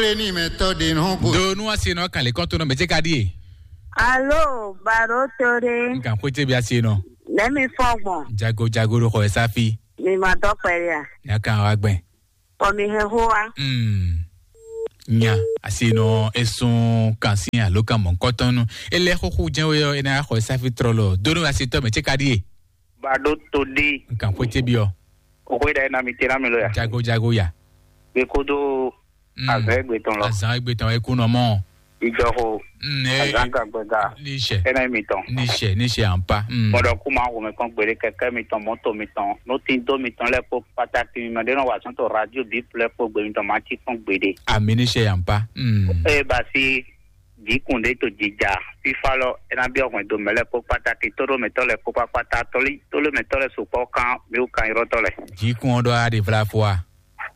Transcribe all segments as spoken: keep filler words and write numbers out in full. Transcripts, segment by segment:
Lé ní mɛ tɔ́ ɖe nɔ go. Do nú asi nɔ kan lè kɔn tó nɔ mɛ tse ka ɖíe. Alo, baro to ɖe. N kan xwé tse bi asi nɔ. Lɛmi fɔgbɔn. Jago jago ɖo xɔ ɛ sáfi. Mi ma dɔ kpɛɖe a? Nya kan wa gbɛn. Kɔ mi hɛn xó wa. Hmm. Nya asi nɔ esun kan si alo kan mɔ kɔtɔnu. Ele xoxo jɛn we ɔ ena xɔ ɛ sáfi trɔ lɔ. Do nú asi tɔ mɛ tse ka ɖíe. Bado to ɖi. N kan xwé tse bi ɔ. O xwé ɖa ena mi tena mi lo ya. Jago jago ya. Be kodo. Mm. Azan egbe tɔn lɔ. Azan egbe tɔn ekunɔ mɔ. Ijɔxo. Mm, eh, azan gagbɛga. Níṣẹ́. Ɛnɛ mi tɔn. Níṣẹ́ níṣẹ́ à ń pa. Mm. Mɔdɔ kú máa wò mí kán gbére kɛkɛ mi tɔn mɔtò mi tɔn n'o ti dó mi tɔn lɛ kpó pàtàkì mi mɛ ɖé nɔ wà sɔn tó radio bí plɛ kpó gbé mi tɔn máa ti kán gbére. Àmì níṣẹ́ à ń pa. Mm. Eye basi jǐkùn ɖé to jija fífá lɔ ena bí ọkùnrin do mɛ lɛ kpó pàtàkì tó ɖó mɛtɔ lɛ kpó pàtà tóló mɛtɔ lɛ sopɔ kan mi wò kan irɔtɔ lɛ. Jǐkùn ɔ́ ɖɔ á ɖe vlá fó a.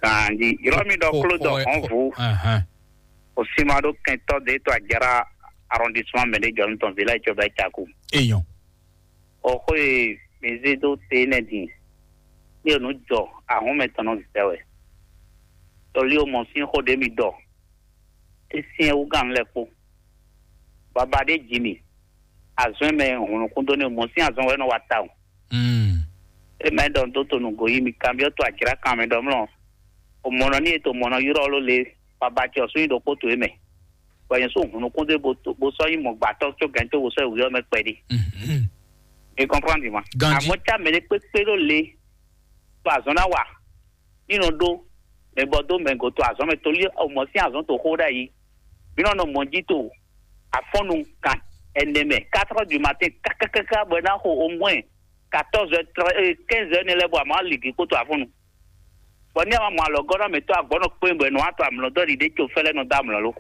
Ganji, yɔrɔ mi ɖɔ klo dɔ xɔn vo. Ahàn. O sima ɖo kɛntɔ de to ajara arrondissement mɛ de jɔ nutɔn village jɔ bɛ caku. Eyɔn. O xo ye mi ze do te ne din. Ni o nu jɔ ahun mɛ tɔn nɔ zɛ wɛ. Tɔli o mɔ sin xo de mi dɔ. E sin e wugan lɛ kpo. Baba de ji mi. Azɔn mɛ hun nukun do ne o mɔ sin azɔn wɛ nɔ wa ta o. Mm. E mɛ ɖɔ dó to nǔgbó yí mi kanbyɔ́ to ajlǎkan mɛ ɖɔ mlɔ. O mɔnɔ ní e to mɔnɔ ylɔ́ ló le baba ce ɔ́ sún nyi ɖokpó to é mɛ. Bɔ nyɛ sún hun nukún dó bó sɔ́ nyí mɔ̌gbátɔ́ có gɛ̌n tó bó sɔ́ yi wǔyɔ́ mɛ kpɛɖé. Mhm. E kɔnprɔ́n di ma. Ganji. Àmọ́ cá mɛ ɖé kpékpé ɖó le to azɔn ná wa. Ní nɔ ɖó mɛ bɔ dó mɛ go to azɔn mɛ tolí o mɔ sín azɔn to xó ɖ'ayǐ. Mí nɔ nɔ mɔ̌ jí to afɔ́nnu kan ɛnɛ mɛ quatre heures du matin kákákáká bɔ é ná xo au moins quatorze heures, quinze heures nɛ lɛ́ɛ bɔ a ma lǐgǐ kpódó afɔ́nnu. Bɔ ní a ma mɔ alɔgɔ́nɔ mǐtɔn agbɔ̌nɔ kpé bɔ è nɔ wá to amlɔ dó ɖiɖe tso fɛ́lɛ́ nɔ dó amlɔ lo.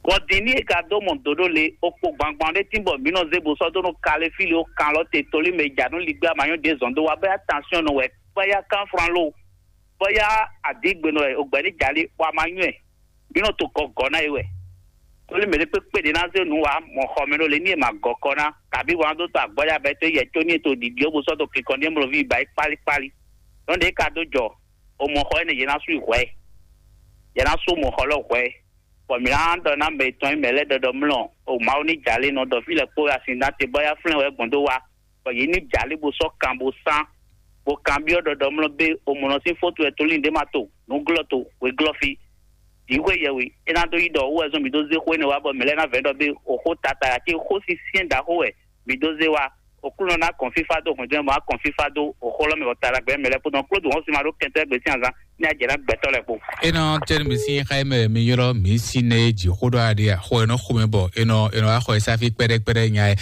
Bɔ din ní e ka dó mɔ dǒ ɖó le, o kpo gbangban ɖé tín bɔ mǐ nɔ zé bo sɔ́ dó nɔ kalé fí le ó kan lɔ te tolí mɛ e ja nú ligbí amanyɔ ɖě zɔn dó wá bɔ attention nɔ wɛ bɔ ya kán fran lo, bɔ ya adǐgbenɔ wɛ o gbɛ̌ ní jalí bɔ a ma nywɛ́. Mǐ nɔ to gɔgɔ̌ ná é wɛ. Tóli mɛ ɖé kpékpé ɖě ná zé nǔ wá mɔ xɔ mɛ ɖó le ní è ma gɔ kɔ ná, kabí wǎn dó to agbɔ́ ya bɛ́ tó yɛ có ní è to ɖiɖi ɔ́ bó sɔ́ dó kinkɔn ɖé mlɔví ba é kpálíkpálí. Nɔ́ ɖě ka dó jɔ, o mɔ xɔ énɛ́ yě ná sú yi hwɛ̌. Yě ná sú mɔ xɔ lɔ hwɛ̌. Bɔ mǐ ná ɖɔ ná mɛ tɔn e mɛ lɛ́ɛ ɖɔɖɔ mlɔ, o Mawu ní jalé nɔ ɖɔ fí lɛ kpó asin ná te bɔ yá flɛ́n wɛ gbɔn dó wá. Bɔ yě ní jalé bó sɔ́ kan bó sán, bó kanbyɔ́ ɖɔɖɔ mlɔ bé o mɔ nɔ sín fótu wɛ tóli ɖé ma to, nǔglɔ́ to, wěglɔ́ fí. Jǐxwé yɛhwe, é ná dó yí ɖɔ owó wɛ zɔ́n mǐ dó zé xó énɛ́ wá bɔ mǐ lɛ́ɛ ná vɛ̌ ɖɔ bé o xó tata cí xó sín syɛ́n ɖaxó wɛ mǐ dó zé wá. Oklúnɔ ná kɔn fífá dó hɔnjɛ́n bɔ á kɔn fífá dó o xó lɔ mɛ bɔ talagbɛ mɛ lɛ́ɛ kpódó klódù hɔn sin ma ɖó kɛntɔ́ gbe sín azán ní ajɛ ná gbɛtɔ́ lɛ́ɛ kpó. É nɔ tɛ́ nú mì sín xá e mɛ mi ylɔ́ mǐ sín nɛ e jǐ xó ɖɔ aɖe a xó e nɔ xo mɛ bɔ è nɔ è nɔ wá xɔ e sáfí kpɛɖɛkpɛɖɛ nya e.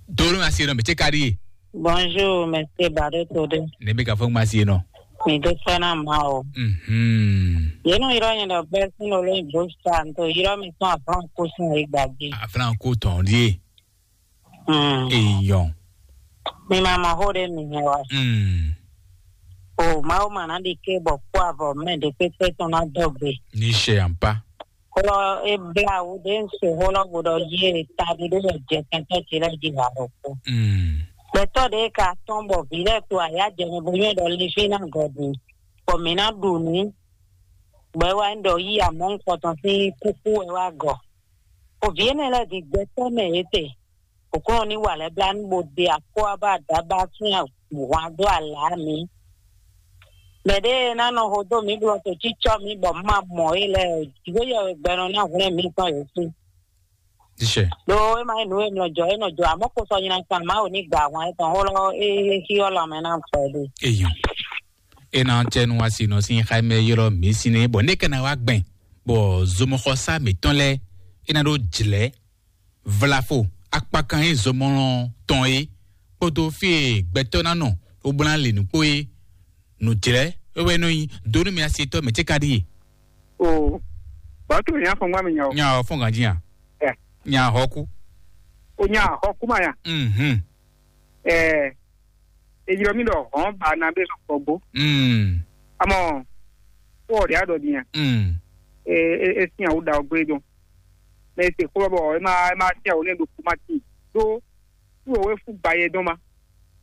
Dó nú asi e nɔ mǐ cé ka ɖíe. Bonjour, monsieur Barreto de. Ne mi ka fɔ ŋma si e nɔ. Mi do fɛn na ma o. Mhm. Ye nɔ yrɔ nyɛ ɖɔ bɛɛ sin lo lóyún bó sa n to yrɔ mi tɔn aflan kó sin e gbagbe. Aflan kó tɔn ɖíe. Mm. Eyɔn. Mi ma mɔ xó ɖé mi hɛn wa. Mm. O Mawu ma ná ɖi ké bɔ kpó avɔ mɛ ɖé pépé tɔn ná dɔgbe. Ní ṣe àǹpá. Xó lɔ é blá wú ɖé ń se xó lɔ bó ɖɔ yí e taɖi ɖé lɛ jɛ kɛntɛ́ ce lɛ́ɛ jí ha ɖokpó. Mm. Gbɛtɔ́ ɖé ka tɔ́n bɔ vǐ lɛ́ɛ to ayǎ jɛ mɛ bó nywɛ́ ɖɔ lifí ná gɔ̌ din, bɔ mǐ ná ɖu nǔ, bɔ é wá nyí ɖɔ yí amɔ̌ nukɔntɔn sín kúkú wɛ wá gɔ̌. Bɔ vǐ énɛ́ lɛ́ɛ din gbɛtɔ́ mɛ yě te, Oklunɔ ní wa lɛ́ blá nú bó ɖe akó ɔ́ bá dǎ bá sín hwan dó alǎ mǐ. Mɛ ɖé e ná nɔ hodó mǐ bló to cícɔ́ mǐ bɔ mǐ ma mɔ é lɛ́ɛ o, jǐxwé yɛhwegbɛnɔ ná hwlɛ́n mǐ tɔn yě sí. Ɖó é ma nyí nǔ e nɔ jɔ é nɔ jɔ, amɔ̌ ko sɔ nyi na kan Mawu ní gba ahwan étɔn xó lɔ é xí ɔ́ lanmɛ ná fɛ ɖe. Eyɔn. É ná cɛ nu asi nɔ sín xá mɛ ylɔ́ mǐ sín é bɔ né kɛ ná wá gbɛn bɔ zomɔxɔsá mǐtɔn lɛ́ɛ é ná ɖó jlɛ̌ vlafo akpakan e zomɔlɔ tɔn é kpódó fí e gbɛtɔ́ ná nɔ wobla lě nǔkpó é nǔjlɛ́ é wɛ nɔ nyi dó nú mi asi tɔ́ mɛ cé ka ɖíe. O batu nya fɔn gba mi nya o. Nya o fɔn ganji ya. Nya hɔku. O nya hɔku ma ya. Mhm. Ɛ ejirɔ mi ɖɔ hɔn ba na bɛ sɔkpɔ gbó. Mm. Amɔ kó ɔɖɛ adɔ dinya. Mm. E e e sin awo da ɔgbɛ dɔn. Mɛ ese kó bɔ e ma e ma sin awo ne ɖo kuma ti do. Kúrò wé fún gbayé dɔn ma.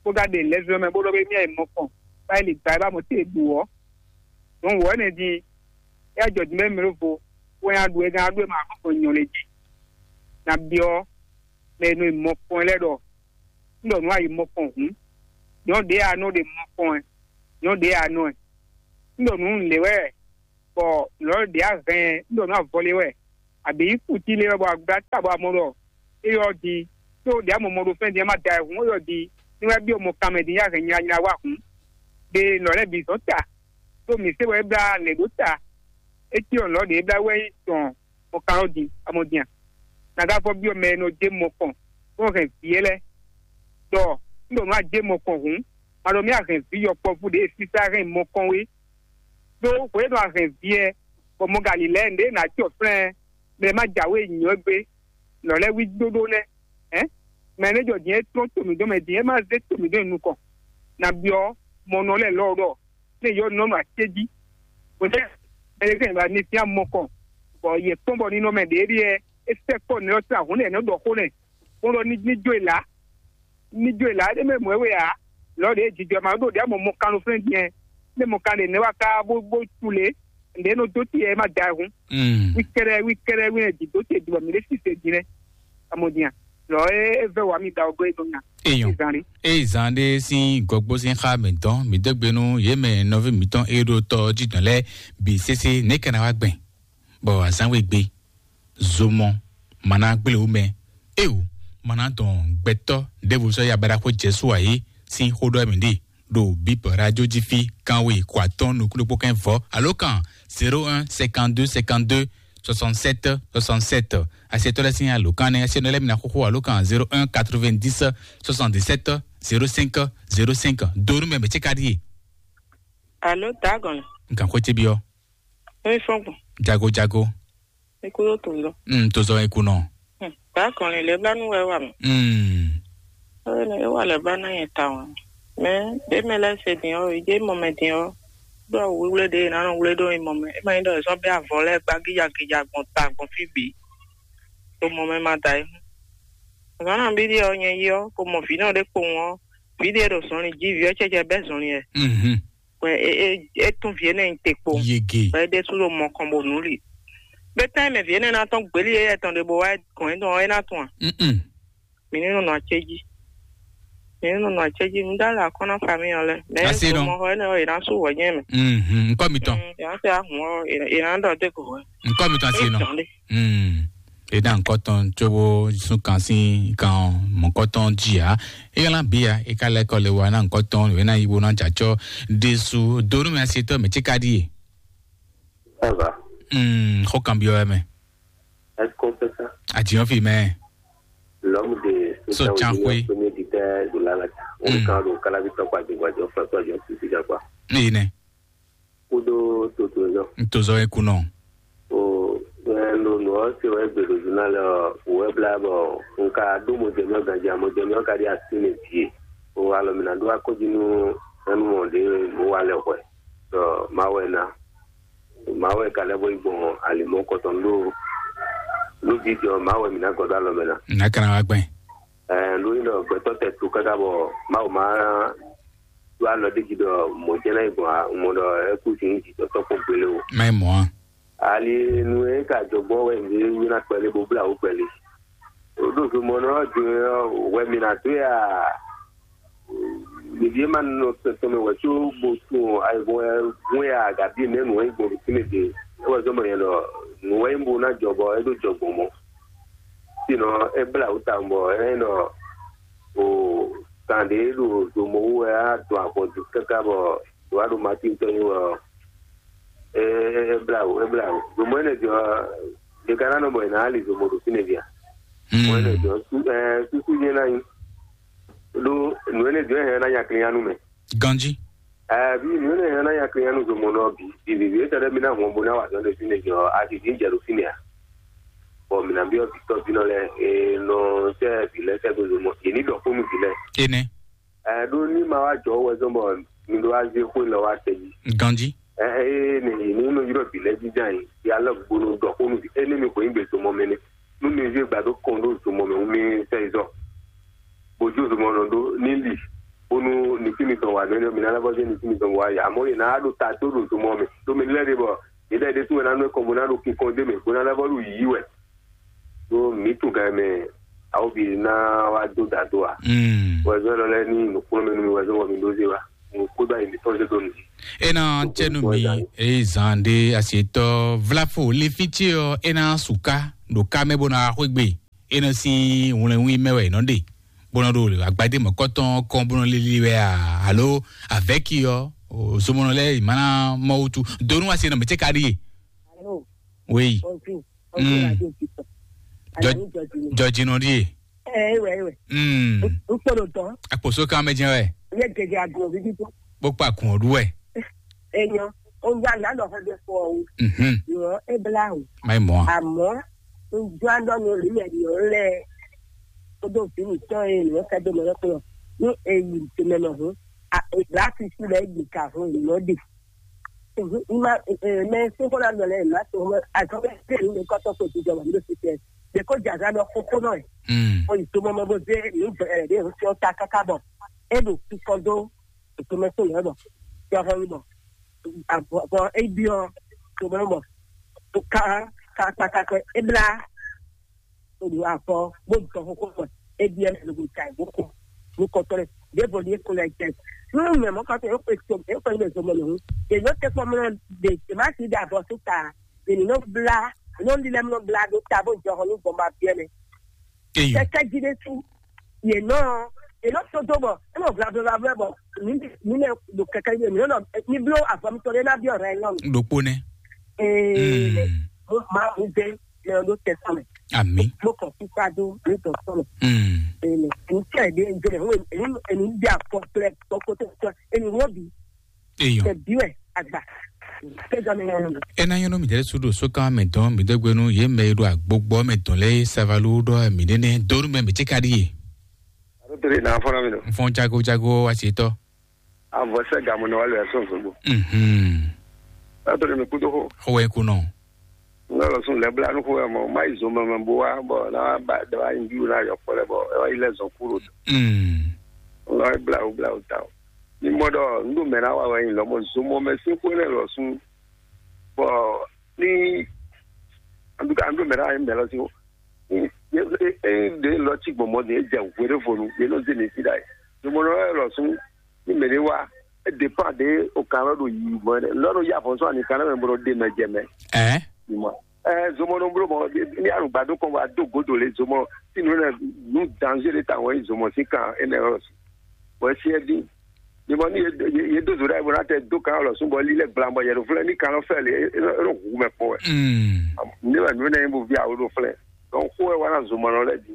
Kó gá ɖe lɛzɔ mɛ bó ɖɔ bɛ mía yi mɔ kɔn. Báyìí lè gba ẹ bá mɔ tí è ɖu ɔ. Dɔn wɔ ɛnɛ di. Ẹ jɔ di mɛ mi ló vo. kpɛn aɖu wɛ gán aɖu wɛ ma kɔn nyɔ lɛ jí. Na byɔ́ mɛ e nɔ yi mɔkpɔn lɛ́ɛ ɖɔ un ɖɔ nǔ a yi mɔkpɔn hǔn, nyɔ̌ ɖě a nɔ ɖe mɔkpɔn ɛ, nyɔ̌ ɖě a nɔ ɛ. Un ɖɔ nǔ lě wɛ, bɔ lɔ̌ ɖě a hɛn un ɖɔ nǔ avɔ lě wɛ, abǐ kutí lě wɛ, bɔ agbá ta bɔ a mɔ ɖɔ é yɔ di tó ɖě a mɔ mɔ ɖo fɛ́n din ɛ má da ɛ hǔn, é yɔ di ní wɛ byɔ́ mɔ kanmɛ din yá hɛn nyanya wá hǔn. Ɖe lɔ̌ lɛ́ɛ bǐ zɔn ta, ɖó mǐ se wɛ é blá lɛ̌ ɖó ta. É cí ɔn lɔ̌ ɖě é blá wɛ nyí tɔn mɔkanlɔ́ din amɔdin a? Nagá fɔ byɔ́ mɛ e nɔ dó mɔkɔn bó hɛn vǐ é lɛ́ɛ ɖɔ un ɖo nǔ a dó mɔkɔn hǔn, ma ɖɔ mì a hɛn vǐ yɔkpɔ́vú ɖě e sísá hɛn mɔkɔn wé. Ɖó hwě e nɔ a hɛn vǐ ɛ bɔ mɔ ka lǐlɛ́ nǔɖé nǎ cyɔ flɛ́n ɛ, mɛ e má jǎwe nyǐ ɔ́ gbé, lɔ̌ lɛ́ɛ wí dóɖó nɛ́. Hɛ̌n, mɛ e nɛ́ jɔ din é tlɔ́n to mǐ dɔn mɛ din é má zé to mǐ dɔn nyi nukɔn. Nabí ɔ́, mɔ nɔ lɛ́ɛ lɔ ɖɔ lé yɔ nɔ nɔ acéjí. Bɔtɛ ɛlɛgɛ ba ní fia mɔkɔ bɔ yɛ kpɔn bɔ ní nɔ mɛ ɖě ɖíɛ é sɛ kɔ nɛ ɔ́ sɛ ahun nɛ nɔ ɖɔ xó nɛ bó ɖɔ ní ní jó ìlà ní jó ìlà é mɛ mɔ ɛ wɛ ǎ. Lɔ ɖě jijɔ ma ɖo ɖě amɔ mɔ kan ló flɛ́n diɛ ní mɔ kan ɖe nɛ wá ká bó bó tu lě ɖě nɔ dó ti ɛ má da ɛ hun. Mm. Wí kɛɖɛ wí kɛɖɛ wí nɛ di dó te di bɔ mi ɖe sise di nɛ amɔ diɛ lɔ é é vɛ wà mí da ɔgɔ é dó nya. Eyɔn. Zan ɖé. Eye zan ɖé sín gɔgbó sín xá mǐtɔn mǐ dó gbe nú yě mɛ nɔví mǐtɔn e ɖo tɔ jí dɔn lɛ́ɛ bǐ sésé nɛ̌ ka ná wá gbɛn bɔ azǎn we gbe zomɔ ma ná gblé wú mɛ eo ma ná dɔn gbɛtɔ́ ɖěvo sɔ́ ya baɖaxó Jezu ǎ é sín xó ɖɔ mǐ ɖe ɖo bǐ radio jí fí kanwe kɔ atɔ́ɔ́n nukúnɖokpó kɛ́n vɔ̌ alo kan zéro un cinquante-deux cinquante-deux soixante-sept soixante-sept. Asiɛtɔ́ lɛ́ɛ sín alǒkan nɛ́ asiɛnɔ lɛ́ɛ mi ná xóxó alǒkan zéro un quatre-vingt-dix soixante-dix-sept zéro cinq zéro cinq. Donu mɛ mɛ ce ka ɖíe. Alo, dagɔn. Nkan xwé ce biɔ. Oi fɔgbɔn. Jago jago. Ikú yóò tó lọ. Mm, tó zɔ ikú nɔ. Dagɔn lè lè bla nu wɛ wà mí. Mm. Ɔyɛ nɛ ewa lɛ ba na yɛ ta wa. Mɛ ɖe mɛ lɛ se din ɔ idé mɔ mɛ din ɔ. Ɖo awu wíwlé ɖe e nǎ nɔ wlé ɖó mɔ mɛ. E ma nyí ɖɔ è sɔ́ bɛ́ avɔ lɛ́ɛ gbá gíja gíja gbɔn ta gbɔn fí bǐ. Ɖo mɔ mɛ ma da é. Zǎn nɔ bí ɖíe ɔ́ nyɛ yi ɔ́, ko mɔ vǐ nɔ ɖé kpowun ɔ́, vǐ ɖíe ɖo zɔnlin jí, vǐ ɔ́ cɛ́cɛ bɛ́ zɔnlin ɛ. Mhm. Wɛ é é é tún vǐ énɛ́ nyi te kpo. Yege. Wɛ é ɖésú ɖo mɔ kɔn bo nǔ li. Gbétán e mɛ vǐ énɛ́ ná tɔ́n gbělí éyɛ́ tɔn ɖe bó wá gɔn é tɔn ɔ́, é ná tɔn a? Mm-mm. Mǐ ní nɔ nɔ acéjí. Mǐ ní nɔ nɔ acéjí. Un dá lɛ akɔ́ ná famille ɔ́ lɛ́ɛ. Mɛ Asi nɔ. Mɔxɔ énɛ́ ɔ́, è nǎ sú wɛ̌nyɛ́ mɛ. Mhm. Nkɔ mitɔn. Mm, yǎ tɛ ahun ɔ́, è è nǎ ɖɔ dé ko hwɛ. Nkɔ mitɔn asi nɔ. Tɔn ɖé. Mm. E ná nkɔ tɔn tsobo sun kan sín kan mɔkɔ tɔn jí a. E yɛlɛ bi a, e ka lɛ kɔ le wa ná nkɔ tɔn, e ná yi wo ná jacɔ. Desu donu mɛ asi tɔ mɛ tí ka ɖíe. Ça va? Mm, xɔ kan biɔ mɛ. Est-ce qu'on fait ça? Adiɔn fi mɛ. L'homme de So Sotsanxwe. Premier dictateur de la Lata. Mm. On kan do kalabi tɔkwa de gwa jɔ fɛ tɔ jɔ sisi jakwa. Ene. Kudo toto jɔ. Ntozɔ ekunɔ. O, ɛ, no no ɔ se wɛ gbe do journal ɔ wɛ bla bɔ nka do mo jɛ mɛ ganji mo jɛ mɛ ka di asi ne die. O alɔ mi na do akɔji nu ɛnu mɔ de mo wa lɛ hwɛ. Dɔ ma wɛ na. Mawu e ka lɛ́ bó yi gbɔn alimɔ kɔtɔn ɖó lójijɔ Mawu wɛ mǐ ná gɔ́ dó alɔ mɛ ná. Nǎ ka ná wá gbɛn. Ɛɛ, nú nyí ɖɔ gbɛtɔ́ tɛ tu káká bɔ Mawu má ɖó alɔ ɖé jí ɖɔ mɔ̌ jɛ́n ná yi gbɔn ǎ, un mɔ ɖɔ é kú sin jǐjɔtɔ́ kpɔ́n gbélé o. Má yi mɔ̌ ǎ. Ali nu e ka jɔ gbɔn wɛ mǐ ní ná kpɛlí bó blá wǔ kpɛlí. Ɖo zomɔnɔ ɔ́ din ɔ́, wɛ mǐ ná dó ya. Ɖevi e ma nɔ tɔn mɛ wɛ có bo tunwun ayihún wɛ hwɛ́n a, agabi nɛ̌ nǔ wɛ nyí gbɔn ɖo fínɛ́ din? É wɛ zɔ́n bɔ nyɛ ɖɔ nǔ wɛ nyí bo ná jɔ bɔ é ɖó jɔ gbɔn mɔ̌. Sinɔ é blá wǔ tawun bɔ é nyí ɖɔ o kan ɖě ɖo zomɔ wú wɛ á dɔn avɔ dó káká bɔ wá ɖo Matín tɔn nyi wɛ ɔ́, é é blá wǔ, é blá wǔ. Zomɔ énɛ́ din ɔ́, ɖe ka ná nɔ bɔ è nǎ li zomɔ ɖo fínɛ́ din a? Mɔ énɛ́ din ɔ́, sú- ɛɛ, súsú nyɛ ná nyí. Ɖó nǔ énɛ́ din ɔ́ hɛn ná nya klin nú mɛ. Ganjí. Ɛɛ, bí nǔ énɛ́ hɛn ná nya klin nú zomɔ nɔ bǐ. Bǐbí é tɛɖɛ mi ná hɔn bo ná wa zɔn ɖe fínɛ́ din ɔ́, a sì dín jɛ ɖo fínɛ́ a? Bɔ mǐ ná byɔ́ vǐ tɔ́ vínɔ lɛ́ɛ, e nɔ sɛ́ vǐ lɛ́ɛ sɛ́ dó zomɔ. Yě ní ɖɔ xó nú vǐ lɛ́ɛ. Énɛ́. Ɛ ɖó ní ma wá jɔ wɛ zɔn bɔ mi ɖó wá zé xó lɔ wá tɛ jí. Ganjí. Ɛ ɛ ɛ ne yi ní nɔ yrɔ bi lɛ jíjá yi ya lɛ gbónú dɔ xó nu bi ɛ ne mi xɔ yin gbe zomɔ mɛ ne nu mi zé gbado kɔn ɖó zomɔ mɛ ŋu mi sɛ yi zɔ bojú zomɔ nɔ ɖó ní li bónú ní fi mi tɔn wà mɛ mi nana bɔ zé ní fi mi tɔn wà yà mɔ yìí náà ɖó ta tó ɖo zomɔ mɛ tó mi lɛ ɖe bɔ yé Lɛ ɖe tún wɛ ná nɔ kɔn bó ná ɖo kinkɔn dé mɛ bó ná ná bɔ ɖo yǐyí wɛ. Ɖó mǐ tún gǎn mɛ awɔbi ná wá dó dǎ dó a. Mm. Wɛzɔ́ lɔ lɛ ní nǔkplɔ́nmɛ nú mi wɛzɔ́ wɔ mi ɖó zé wa. Mo kó bá yi mi tɔn zé dó mi. Ena cɛnu mi. Eye zan ɖe asietɔ vlafo le fitsi ɔ ena suka ɖo ká mɛ bó na xwé gbe. Ena si wlɛnwí mɛ wɛ nɔ ɖe bó nɔ ɖo agbadé mɔ̌kɔtɔn kɔn bó nɔ lili wɛ a alo avɛki ɔ zomɔnɔ lɛ mana mɔ wutu donu asi nɔ mɛ tse ka ɖi ye. Alo, oui. Bonjour. Bonjour, mm. Radio Victor. Jɔ- Alain Jɔjinɔ. Jɔjinɔ ɖi ye. Ɛ ewɛ ewɛ. Mm. N kpɔɖo tɔ. Akposo kan mɛ jɛn wɛ. N yɛ gɛgɛ agbo vivi tó. Bó kpa kun ɔɖu wɛ. Enyɔ, o ya na lɔ xɔ de fɔ o. Mhm. Yɔ e bla o. Mayi mɔ. Àmọ́ n jɔ an dɔ nu ri mɛ yɔ lɛ. O do vi mi tɔ ye nɔ kɛ do mɛ lɛ kplɔ. Ni e yi te mɛ nɔ hun. A e bla sisi lɛ yi ka hun yi nɔ de. Mhm. Ima e mɛ se ko na dɔ lɛ ma to mɛ a jɔ bɛ se ni kɔtɔ ko ti jɔ ma do sisi. De ko jaza dɔ koko nɔ ye. Mm. O yi to mɔ mɛ bo ze ni bɛ de o sɔ ta kaka bɔ. E do kikɔ do. Tomɛ tó lɛ bɔ jɔhɔn bɔ bɔ ebiɔ tomɛ bɔ ka ka kpata kɛ ebla odo afɔ bó dɔ kókó bɔ ebiɔ lɛ lóko ta bó kó bó kɔtɔ lɛ bó bɔ ní ekó lɛ jɛ nínú mɛ mɔ kɔtɔ yóò pè tó yóò pè ní zɔmɔ lòun èyí ó tẹ kpɔ mọ de tèmá ti dà bɔ síta ènì nɔ bla nɔ lílẹ nɔ bla ɖó ta bó jɔhɔn ní gbɔn ma biɛ mɛ Eyo. Kɛkɛ jí ɖé sú. Yě nɔ yě nɔ sódó bɔ é nɔ vlablavlavlɛ bɔ mǐ mǐ lɛ ɖo kɛkɛ jí mǐ nɔ ní bló avɔ mitɔn ɖé ná byɔ́ rɛ nyɔnu. Ɖokpó nɛ. Ee Mm. Mo ma mo dé lɛ ɖó tɛsán mɛ. Ami. Mo kàn fífá dó mi tɔ sɔnù. Mm. Ee mɛ ní tẹ̀ dé ń jẹlẹ̀ wọ́n èmi èmi ń bí àpọ̀ pẹ̀lẹ́ tọkọtẹ tẹ èmi wọ́n bí Eyo. Tẹ̀ bí wẹ̀ àgbà. Kẹjọ mi yẹn nù. Ena yɔnɔ mi dɛrɛ sudo sokan mɛ dɔn mi dɛgbenu ye mɛ yi do agbogbo mɛ dɔn lɛ savalu dɔ mi nene donu mɛ mi tse ka di ye. Alo tele na fɔlɔ mi do. N fɔn jago jago asetɔ. Avɔ sɛ gamu nɔ wale ɛsɔn zogbo. Mhm. Alo tele mi kudo ho. Ɔwɛ kunɔ. N lɔ sun lɛ bla nu ko mɔ ma yi zomɛ mɛ bo wa bɔ na ba da wa yi bi na yɔ kpɔ lɛ bɔ e wa yi lɛ zɔn kuro. Mm. N lɔ bla o bla o ta o. Ni mɔ ɖɔ n ɖo mɛ na wa wɛ nyi lɔ mɔ zomɔ mɛ sin xwe lɛ lɔ sun. Bɔ ni an ɖo mɛ na wa yi mɛ lɔ sin o. Ɖe lɔ ci gbɔn mɔ de e jɛ hwe ɖe fonu ye nɔ ze mi fi ɖa yi. Zomɔ lɔ lɔ sun ni mɛ ɖe wa e dépend de o kan lɔ ɖo yi mɔ ɖe lɔ ɖo ya fɔ sɔ ani kan lɛ mɛ bɔ ɖo de mɛ jɛ mɛ. Ɛ. Ni mɔ ɛ zomɔ nɔ blo mɔ ni alugba do kɔn wa do godo le zomɔ si nu ne nu danger de ta wɔn yi zomɔ si kan ene lɔ si bɔ esi ɛ di ni mɔ ni ye do zo ɖe bɔ na tɛ do kan lɔ sun bɔ li lɛ gblan bɔ yɛ do flɛ ni kan lɔ fɛ le e ɖo hu mɛ kpɔ wɛ. Mm. Ne wɛ nu ne bo vi awo do flɛ donc xo wɛ wa na zomɔ nɔ lɛ di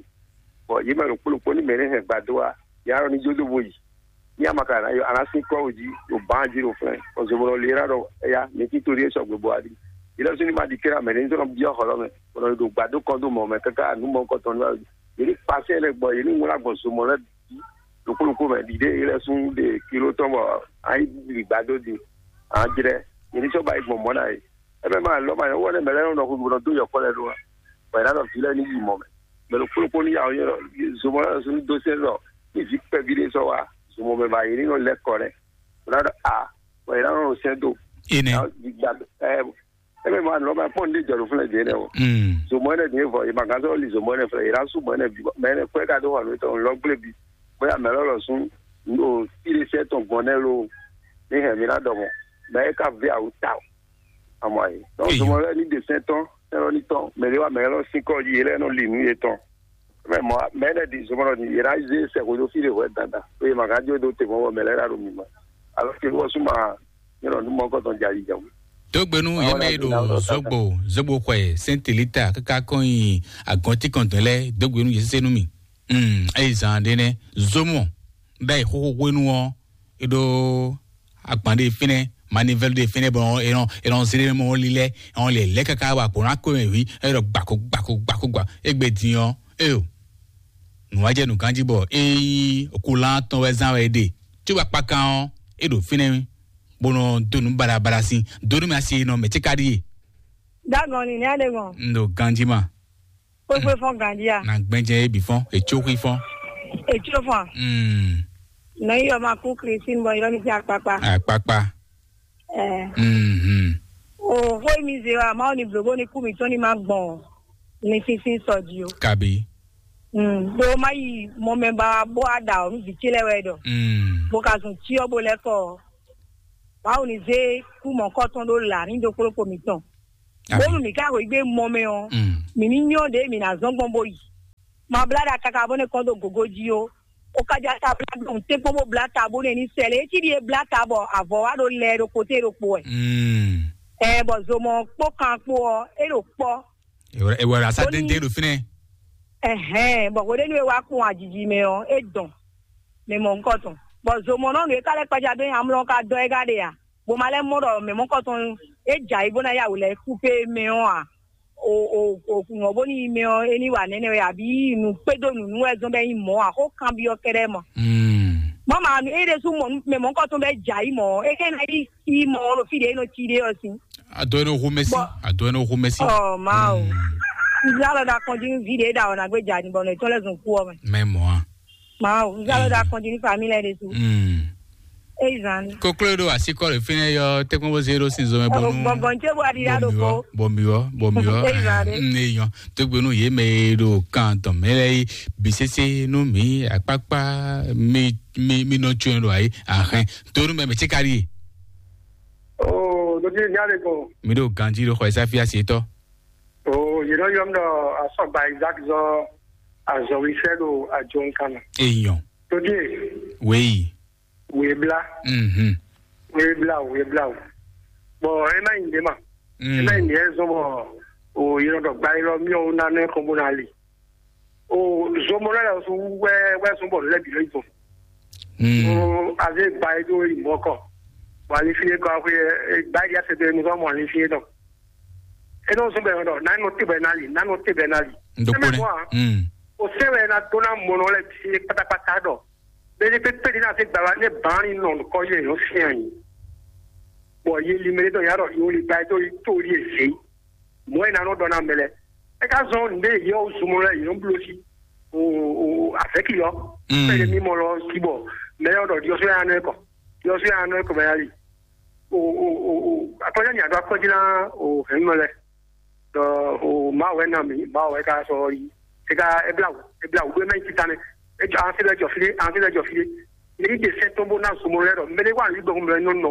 bɔ yi mɛ ɖo kpolo kpo ni mɛ ne hɛn gbado wa ya lɔ ni jo do bo yi. Ní amaka na yo anasi kɔ oji o ban ji o flɛ o zobolo lera ɖɔ eya mi ti tori esɔ gbogbo adi ilé sunu ma di kera mɛ ní sɔnɔ biɔ xɔlɔ mɛ kɔnɔ do gbado kɔn do mɔ mɛ kaka nu mɔ kɔtɔn nu ayi yeli pase lɛ gbɔ yeli ŋla gbɔn zomɔ lɛ bi lukulukú mɛ dide ilé sun de kilo tɔn bɔ ayi li gbado di an jrɛ yeli sɔ ba yi gbɔn mɔ na yi Ebe ma lɔ ma yɔ wɔlɛ mɛ lɛ nɔ xu gbɔdɔ do yɔkɔ lɛ do wa. Bɔ yɛ nɔ vi lɛ ni yi mɔ mɛ. Mɛ lo kpolo kpolo ya yɔ zomɔ lɛ sun do se lɔ. Ni vi kpɛ vi de sɔ wa. Zomɔ mɛ ba yi ni nɔ lɛ kɔ lɛ. Wala dɔ a. Bɔ yɛ nɔ sɛ do. Ene. Gba ɛ. Ebe ma lɔ ma pɔn de jɔ do fun lɛ de ne o. Mm. Zomɔ ne de vɔ. Yɛ ma gan sɔ li zomɔ ne fɛ. Yɛ na su mɔ ne bi. Mɛ ne kɔɛ ka do wa lo tɔ lɔ gble bi. Bóyá mɛ lɔ lɔ sun. Ndo fi de sɛ tɔn gbɔn ne lo. Ni hɛ mi na dɔ mɔ. Mɛ e ka vi awu ta o. Amɔ ayi. Donc Eyo. Zomɔ lɛ ni de sɛn tɔn, ɛlɔ ni tɔn, mɛ de wa mɛ lɔ sin kɔ yi lɛ nɔ li nu ye tɔn. Mɛ mɔ mɛ lɛ di zomɔ lɔ ni yɛ na ze sɛ ko do fi de wɛ dada. O ye ma ka jo do te mɔ mɛ lɛ la do mi ma. Alo ke wɔ suma, ne lɔ nu mɔ kɔ tɔn jali jawu. Dógbenu Àwọn yɛmɛ yi aláàbí náà ɖo lọ zogbo zogbo xɔe sɛntilita kaka kɔn yi agɔnti kɔntɔn lɛ dógbenu yɛ sese nu mi. Mm, eyi zan ɖe nɛ zomɔ bɛ xoxo hwenu ɔ e ɖo agban ɖe fínɛ manivɛlu ɖe fínɛ bɔ e nɔ e nɔ zlé mɔ lilɛ e nɔ lɛ lɛ kaka wa kpo na ko mɛ wi e ɖɔ gbako gbako gbako gba egbe din ɔ eyo nùwájɛ nùgánjí bɔ eyi okulán tɔn wɛ zán wɛ ɖe tso akpakan ɔ e ɖo fínɛ bó nɔ donu baɖabaɖa sin donu mi asi nɔ mɛ tsi ka ɖi ye. Dagɔn ni ne ale gɔn. N ɖo ganji ma. Kpekpe fɔn ganji a. Na gbɛnjɛ ye bi fɔn etso xui fɔn. Etso fɔn. Mm. Nɔ yi yɔ ma ku Christine bɔ yɔ mi ti akpakpa. Akpakpa. Ɛ. Mm-hmm. O xó e mi zé wa, Mawu ni blǒ bó ní kú mǐtɔn ní ma gbɔn linfínfín sɔ jí o. Kabi. Mm, ɖó má yi mɔ mɛ ba bó a ɖa ɔ nú vǐ ce lɛ́ɛ wɛ ɖɔ. Mm. Bó ka zun cyɔ bó lɛ́ kɔ ɔ. Mawu ni zé kú mɔ̌kɔtɔn ɖó là ní ɖokpóɖokpó mǐtɔn. Bónú mǐ ká hwegbe mɔ mɛ ɔ, mǐ ní nyɔ́ ɖě mǐ ná zɔ́n gbɔn bó yi. Ma blá ɖa káká bó nɛ́ kɔn dó gǒgó jí ó. Ó ká já ta blá ɖo nǔtɛ́nkpɔ́n bó blá ta bó nɛ́ ní sɛ lě. É cí ɖíe blá ta bɔ avɔ̌ wá ɖo lɛ ɖo kpóté ɖokpó wɛ. Ɛ bɔ zomɔ kpó kan kpó ɔ, é ɖo kpɔ́. Ewɔ asa dɛndɛn ɖo fínɛ. Ɛhɛn, bɔ hweɖénu e wá kpɔn ajiji mɛ ɔ, é dɔn mɛ mɔ ŋkɔ tɔn. Bɔ zomɔnɔnu e ka lɛ́ kpaja dó nyi amlɔ ka dɔ ɛ ka ɖe a? Bó ma lɛ́ mɔ ɖɔ mɛ mɔkɔtɔn e jɛ ayǐ bó ná yá wǔ lɛ́ kú pé mɛ ɔ́ ǎ. O o o kùnɔ bó ní yi mɛ ɔ́, é ní wa nɛnɛ wɛ abǐ nǔ kpédó nǔnú wɛ zɔn bɛ nyí mɔ̌ ǎ, xó kanbyɔ́ kɛ́ɖɛ́ mɔ. Mɔ̌ ma nu é ɖésú mɔ mɛ mɔkɔtɔn bɛ jɛ ayǐ mɔ ɔ́, é ká ná yi yi mɔ ɔ́ ɖo fí ɖě é nɔ cí ɖé ɔ́ sín. Adó é nɔ hu mɛsí. Adó é nɔ hu mɛsí. Ɔ Mawu. Nzá lɔ ɖa kɔn jí nú ví ɖě ɖa ɔ́ ná gbé jà ní bɔ nɔ ètò lɛ́ zɔn kú ɔ́ mɛ. Mɛ mɔ̌ a. Mawu, nzá lɔ ɖa kɔn jí ní família ɖé su. Éyi zan ni. Koklo ɖo asikɔ ɖe fínɛ yɔ tɛkpɔn bó zé ɖo sin zɔmɛ bɔnu. Gbɔngbɔn tse bó aɖi ɖa ɖo ko. Bɔmiwɔ bɔmiwɔ. Éyi zan ɖe. Eyɔn tógbénu yé mɛ e ɖo kan tɔn mɛ lɛ yi bisese nú mi akpakpa mi mi mi nɔ tso ɖo ayi ahɛn tonu mɛ mɛ tse ka ɖi. Oo, ɖo ɖi nya ɖe ko. Mi ɖo ganji ɖo xɔ ɛsa fi asi tɔ. Oo, yě nɔ yɔ mí ɖɔ asɔgba Isaac zɔ azɔwisɛ ɖo ajo nkan mɛ. Eyɔn. Ɖo ɖi. Wei. Webla. Mhm. Webla webla. Bɔn ema yi nde ma. Ema yi nde zɔn bɔ o yɔrɔ dɔ gba yɔrɔ miɔ wo na ne kɔn bo na li. O zomɔ lɛ lɛ su wɛ wɛ sɔn bɔ lɛ bi lɛ zɔn. O aze gba yi do yi mɔ kɔ. Bɔ ali fi ye kɔ aƒe gba yi ase do enu sɔn mɔ ali fi ye dɔ. Enu sɔn bɛ dɔ na nɔ te bɛ na li na nɔ te bɛ na li. Ndokpone. O se wɛ na do na mɔ nɔ lɛ bi se kpatakpata dɔ. Bɛ́ pépé ɖé ná zé gbala nɛ bǎn ní nɔ nukɔ yɛ yɔ fia nyi. Bɔ ye li mɛ ɖé dɔ ya ɖɔ yo li ba do yi to li eze. Mɔ e ná nɔ dɔ na mɛ lɛ. E ka zɔn nde yɔ zumɔ lɛ yɔ blo si. O o avɛki yɔ. Pɛlɛ mi mɔ lɔ si bɔ mɛ yɔ dɔ diɔ so ya nɔ kɔ. Diɔ so ya nɔ kɔ mɛ ya li. O o o o akɔjɔ nya do akɔji na o hɛn mɔ lɛ. Ɖɔ o Mawu wɛ na mǐ, Mawu wɛ ka sɔ yi. E ka e bla wǔ, e bla wǔ ɖó mɛ nyi tita nɛ. E jɔ an se lɛ jɔ fi ɖé, an se lɛ jɔ fi ɖé. Ní ɖe sɛ́ tɔn bó ná zomɔ lɛ ɖɔ mɛ ɖé wà ní gbɔn mɛ nɔ nɔ